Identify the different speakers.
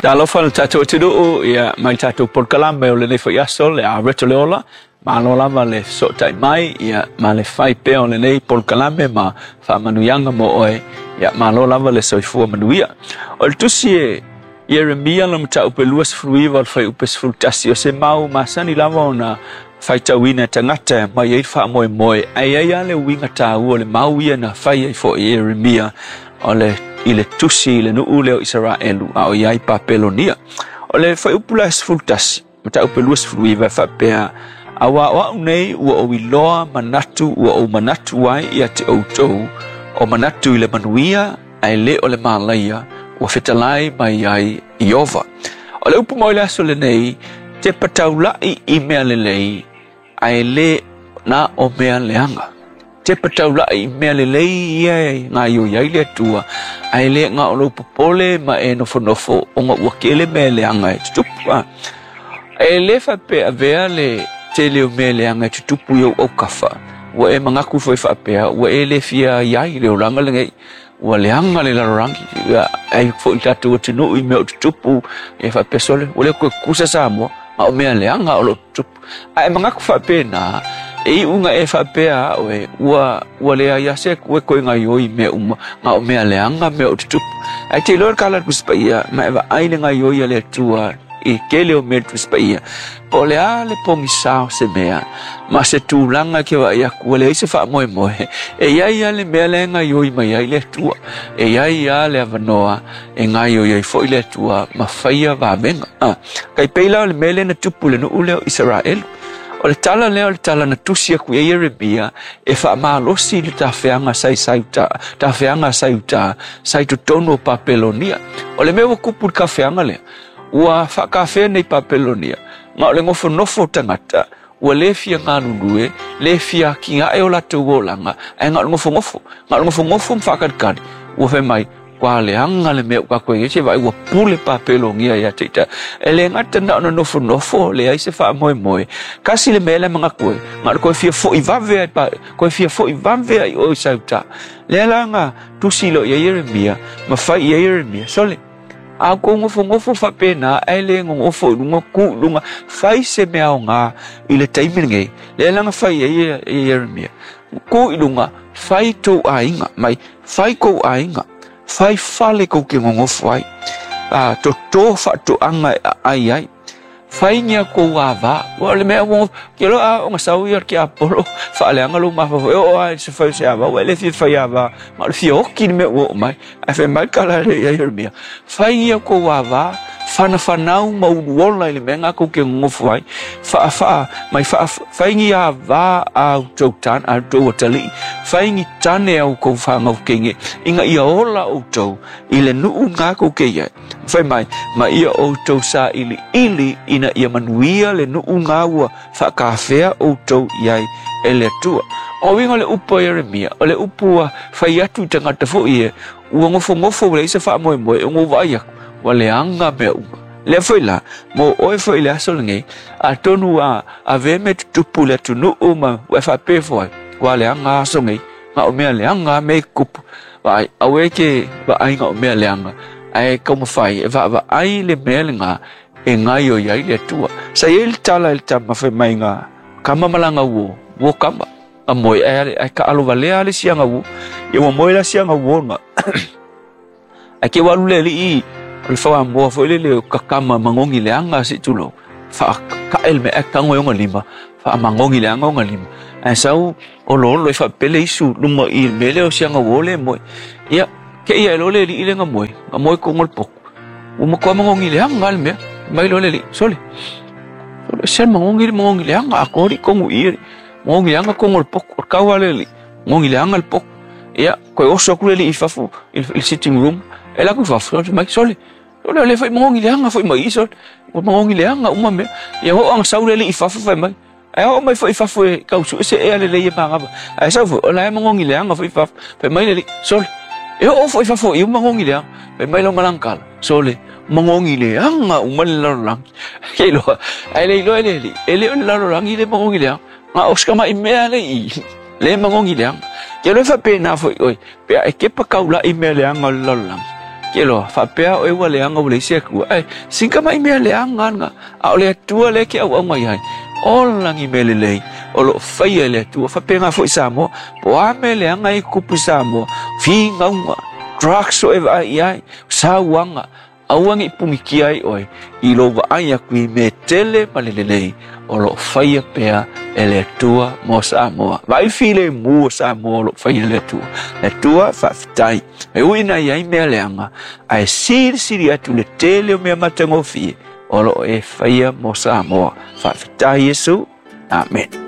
Speaker 1: Talofa le tatou atunuu, ia mai tatou polokalame o lenei foi aso, le Areto le Ola. Malo lava le fesootai mai, ia, ma le fai pea o lenei polokalame ma faamanuiaga mo oe. Ia, malo lava le soifua manuia. O le tusi e Ieremia le mataupu e 29 o le fuaiupu e 11, o se mau masani lava ona faitauina e tagata e aumai ai le faamoemoe, ae i ai lava le uiga taua o le mau ia na fai ai foi e Ieremia o le i le tusi i le nuu lea o Isaraelu a o i ai Papelonia. O le fuaiupu la e 11, mataupu e 29 e faapea, Aua o au nei ua ou iloa manatu ua ou manatu ai ia te outou, o manatu i le manuia ae le o le malaia, ua fetalai mai ai Ieova. O le upu mo i le aso lenei, tepa taulai i mea lelei, ae le na o mea leaga. Tepa taulai i mea lelei ia e gaoioi ai le Atua, ae le na o lou popole ma e nofonofo ona ua tele mea leaga e tutupu. E le faapea avea le tele o mea leaga e tutupu i ou aukafa, ua e manatu foi faapea ua e le fia i ai i le olaga lenei, ua leaga le lalolagi, ai foi tatou atunuu i mea o tutupu, e faapea sole, ua le toe tutusa Samoa, a o mea leaga o lo o tutupu. Ae manatu faapena, e iu ina e faapea a oe, ua leai lava se Atua e toe gaoioi i mea uma, na o mea leaga mea o tutupu. Ae te iloa le tala a le Tusi Paia, ma e vaai le gaoioi a le Atua i tele o mea le Tusi Paia, po o le a le pogisa o se mea, ma se tulaga e te vaai atu ua leai se faamoemoe, e i ai lava le mea la e gaoioi mai ai le Atua, e i ai lava le avanoa e gaoioi ai foi le Atua ma faia vavega. Tai pei la o le mea lea na tupu i le nuu lea o Isaraelu. O le tala lea o le tala na tusi atu i ai Ieremia e faamalosi i le tafeaga tafeaga sa i uta, sa i totonu o Papelonia. O le mea ua tupu i le tafeaga lea, ua faatafea nei Papelonia, ma o le nofonofo o tagata, ua le fia galulue, le fia atiae o latou olaga, ae na o le nofonofo. Na o le nofonofo ma faatalitali, ua fai mai, Ua leaga le mea ua tatou i ai, se vaai ua pule Papelonia ia te ita. E le gata na ona nofonofo, leai se faamoemoe. Kasi le mea lea manatu ai, na o le toe fia foi vave ai, toe fia foi vave ai oe i Sauta. Lea la na tusi loa i ai Ieremia, ma fai i ai Ieremia, Sole, a outou nofonofo faapena, ae le nonofo i luga, tu i luga, fai se mea aoga i le taimi lenei. Lea la na fai i ai e Ieremia, tu i luga, fai tou aiga mai, Fai kou aiga, fai fale kou ke nonofo ai, a toto faatoaga e aai ai. Faingia kou ava, ua o le mea ua ke loa a ona sau ia ke apolo, faaleaga lou mafaufau, e oo lava i se fai o se ava, ua e le fia fai ava, ma o le fia oki le mea ua oo mai. Ae fai mai le tala a le ia Ieremia, Faingia kou ava, whanawhanau ma uluola i le mea ngā kou ke nonofo ai, whaawhaa, mai wha, whaingi a wā au tou tan, au tou atalii, whaingi tane au kou whangau kenge, inga ia ola outou i le nuu ngā kou ke iai. Whai mai, ma ia outou sa ili ili ina ia manuia le nuu ngā ua whaakawhea outou iai e le Atua. O uiga o le upu a Ieremia, o le upu ua whai atu i tangata foi e, ua ngofongofo ua leai se faamoemoe, e ua vaai aku, ua leaga mea uma. Lea foi la, mo oe foi i le aso lenei, atonu ua avea mea tutupu i le atunuu ma ua e faapea ifo ai, ua leaga aso nei, na o mea leaga mea i tutupu. Vaai, aua e te vaai na o mea leaga, ae taumafai e vaavaai le mea lena e gaoioi ai le Atua. Sa i ai le tala i le tama fai mai na kama ma lana uo, uo kama. A moe, ae, ae kaalo walea le isi aga uo. Ia ua moe la isi aga uo na. Ae ke ua alu le alii o le whaamoa foi lele o kakama mangongi leaga se i tulou. Whaakae le mea ae tago e ona lima, whaamangongi leaga ona lima. Ae sau oloolo e whaapele isu luma i le mea lea o si aga uo le moe. Ia, ke ia e loa le alii le nga moe, nga moe kongo le poku. Ua matua mangongi leaga le mea, mai loa le alii, sole. Sole, se mangongi le mangongi leaga, a kori kongu i e. Ngongi leaga kongo le poku, o le kau a le alii, ngongi leaga le poku. Ia, koe oso atu le alii i fafo, i le sitting room, e alu atu i fafo, fai mai, sole, sole, o lea foi mangongi leaga foi mai i, sole, ua mangongi leaga uma mea. Ia, oo ina sau le alii i fafo, fai mai, ae oo mai foi i fafo e tau sue se ea lelei e manava. Ae sau foi, o la e mangongi leaga foi i fafo. Fai mai le alii, sole, e oo foi i fafo i uma mangongi leaga. Fai mai lau malagakala, sole, mangongi leaga uma le lalolagi. Ke iloa, ae le iloa e le alii, e le o le lalolagi le mangongi leaga. Na o se tamai mea le i, le magogi leaga. Ke loa faapena foi oe, pe a e kepa kaula'i mea leaga o le lalolagi, Ke loa, faapea oe ua leaga ua leai se Atua, ae sina tamai mea leaga lava, a o le Atua lea e te auauna i ai. Ola ni mea lelei o loo faia e le Atua. Faapena foi Samoa, po o a mea leaga e tutupu i Samoa, finauga, drugs o e vaai i ai, sauaga, aua ne i punitia ai oe i lou vaai atu i mea tele ma le lelei o loo faia pea e le Atua mo Samoa. Vaai filemu o Samoa o loo faia e le Atua. Le Atua faafetai. E ui ina i ai mea leaga, ae silisili atu le tele o mea matagofie o loo e faia mo Samoa. Faafetai Iesu. Amen.